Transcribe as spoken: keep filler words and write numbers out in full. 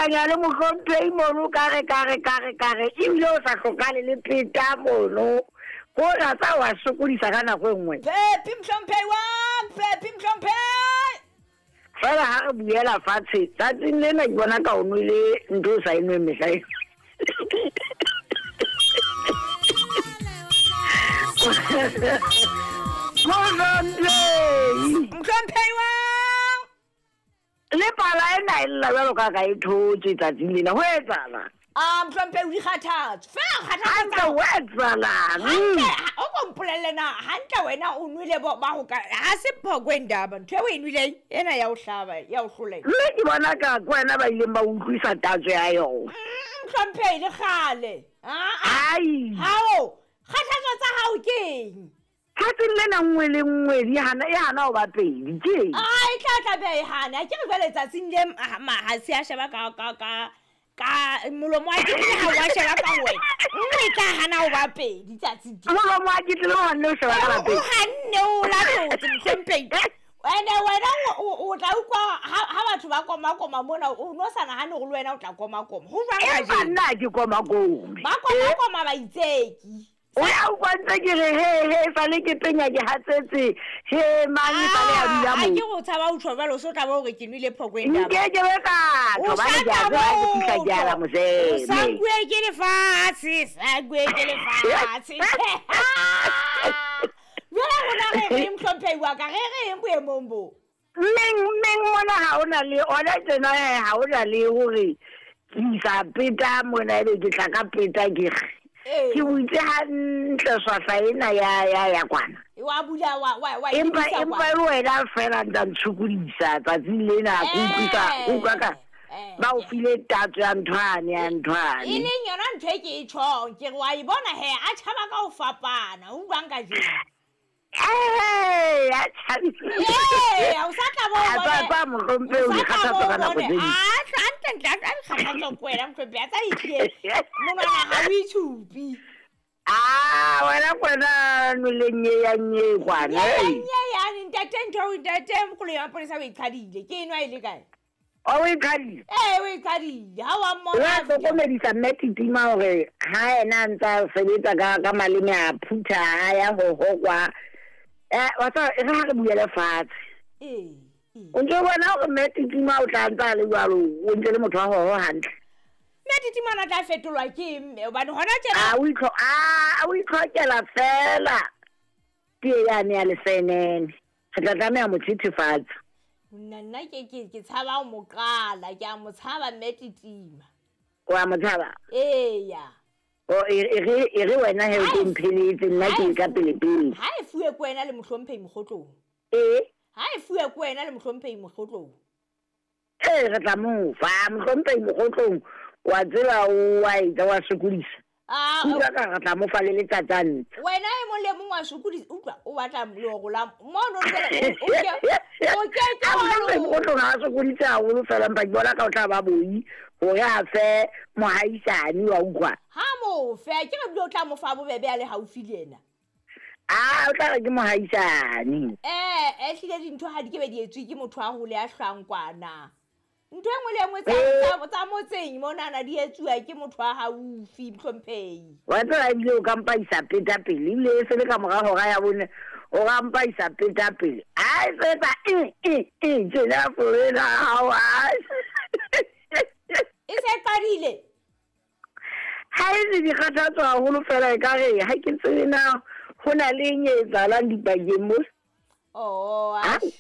kopanya le mohlomphehi mono ka re ka re ka re ka re ebile o sa hlokale le pheta mono. Ko ra tsa wa sokodisa ka nako e nngwe. Pepi mohlomphehi wa, Pepi mohlomphehi. Fela ha re buela fatshe tsatsing lena ke bona ka o nwele ntho o sa e nweng mehla ena. Mohlomphehi. Mohlomphehi wa. Le pala ena e lla jwalo ka ka e thotse tsatsing lena, ho etsahalang? Ah, mohlomphehi o dikgathatso. Fela kgathatso. Hantle ho etsahalang? Hantle, o ko mpolelle na, hantle wena o nwele bo ba ho ka ha se phoko e ndaba, ntho eo o e nweleng ena ya o hlaba, ya o hloleha. Mme ke bona ka ke wena ba ileng ba utlwisa tatso ya yona. Mohlomphehi le kgale. Ah, Ai. Hao, kgathatso tsa hao ke eng? Tsatsing lena nngwe le nngwe di hana, e hana ho ba pedi, ke eng? Ah, e tla tla be e hana. Ke re jwale tsatsing le ma ha se a sheba ka ka ka ka molomo wa ke ha wa sheba ka wena. Nngwe e tla hana ho ba pedi tsatsing le. Molomo wa ke tlile ho hanne o sheba ka la pedi. O hanne o latotse mohlomphehi. Ene wena o o tla utlwa ha ha batho ba koma koma mona o no sa nahane hore le wena o tla koma koma. Ho jwang ka Empa jeno? nna ha ke koma kome. Ba koma koma ba itseki. O ya utlwa ntse ke re he he sale ke penya ke hatsetse he mang e sale ya dula Ah, moo. ke go tshaba ho tjho jwalo, o so tla ba hore ke nwele phoko e ndaba. Nke ke be ka O tjho, hobane sa ke a tla tseba ha ke fihla ke ala o moseme. sankuwe ke lefatshe, sankuwe ke lefatshe. Jwale rona re reng mohlomphehi wa ka, re reng boemong bo? Mmeng, mmeng mona ha hona le ona tjena he, ha hona le hore ke isa peta mona ebe ke tla ka peta ke re. Ee. Ke butse hantle swahla ena ya, ya, ya kwana. Wa bula, wa, wa, wa Empa, emisa empa kwana. e le wena feela ntsa ntshokodisa tsatsing lena, ke utlwisa, Eh, ke utlwa ka eh, ba o file tatso ya nthwane, ya nthwane. E leng yona ntho e ke e tjhong, ke re wa e bona he, a tjhaba ka ho fapana, o utlwang kajeno? Eh, a tjhabile. Eh, o sa tla bo A bone. tswa kwa mohlomphehi, o O sa tla dikgathatso bo ka nako bone. tse ding. Ah, hantle, hantle, a dikgathatso ke wena mohlomphehi, a tsa ehlile. Monwana ha o itshupi. Ah, wena kwena nweleng e ya nye kwana, Nye ya hey. nye yane, ntate ntho, ntate mokgolo ya maponesa o e qhadile. Ke enwa e le kae? O e qhadile? Eh, o e qhadile. Ha wa mmona Wa a fihla. hlokomedisa mme Titima hore ha yena a ntsa sebetsa ka, ka maleme a phutha, a ya ho hokwa. Eh, wa tseba, e re ha re buele fatshe. Ee, ee. O ntso bona hore mme Titima o tla ntsa le jwalo, o ntse le motho wa hoho hantle. Mme Titima ona tla fetolwa ke mme, hobane hona tjena A o itlho-, a, o itlhokela fela tee yane ya lesenene. Re tla tlameha mo thethefatsa. Nna, nna ke, ke, ke tshaba ho mo qala, ke a mo tshaba mme Titima. O a mo tshaba? Eya. O, e, e re, e re wena he o Ha tlo e mpheletse, nna ha ke e ka fu- pele pele. Ha e fuwe ke wena le mohlomphehi Mokgotlong. Ee. Ha e fuwe ke wena le mohlomphehi Mokgotlong. Ee, re tla mo fa mohlomphehi Mokgotlong, wa tseba o wa etsa, wa sokodisa. Ah, Utlwa ka re tla mo fa le letsatsane. Wena e mong le mong wa sokodisa, utlwa, o batla leoro la mono jwale, o, o ke, o ke ke A wa mohlomphehi lona. Mokgotlong ha a sokodise haholo fela, empa ke bona ka o tla ba boi hore a fe mohaisane, wa utlwa. Ha mo fe, ke re bile o tla mo fa bobebe a le haufi le yena. Ah, o tla re ke mohaisane. Eh, eh, ehlile dintho ha di ke be di etswe ke motho a hole a hlwang kwana. Ntho e nngwe le e nngwe tsa, Eh. tsa, tsa motseng monana di etsuwa ke motho a haufi, mohlomphehi. Wa tseba ebile o ka mpa isa peta pele, ebile e se le ka mora hora ya bone, o ka mpa isa peta pele. Ha e se etsa e, e, e, tjena founa hao, ha. E se qadile? Ha e se dikgathatso haholo fela, ekare ha ke tsebe na ho na le eng e etsahalang dipakeng mo. Oh, Ha? atjhe.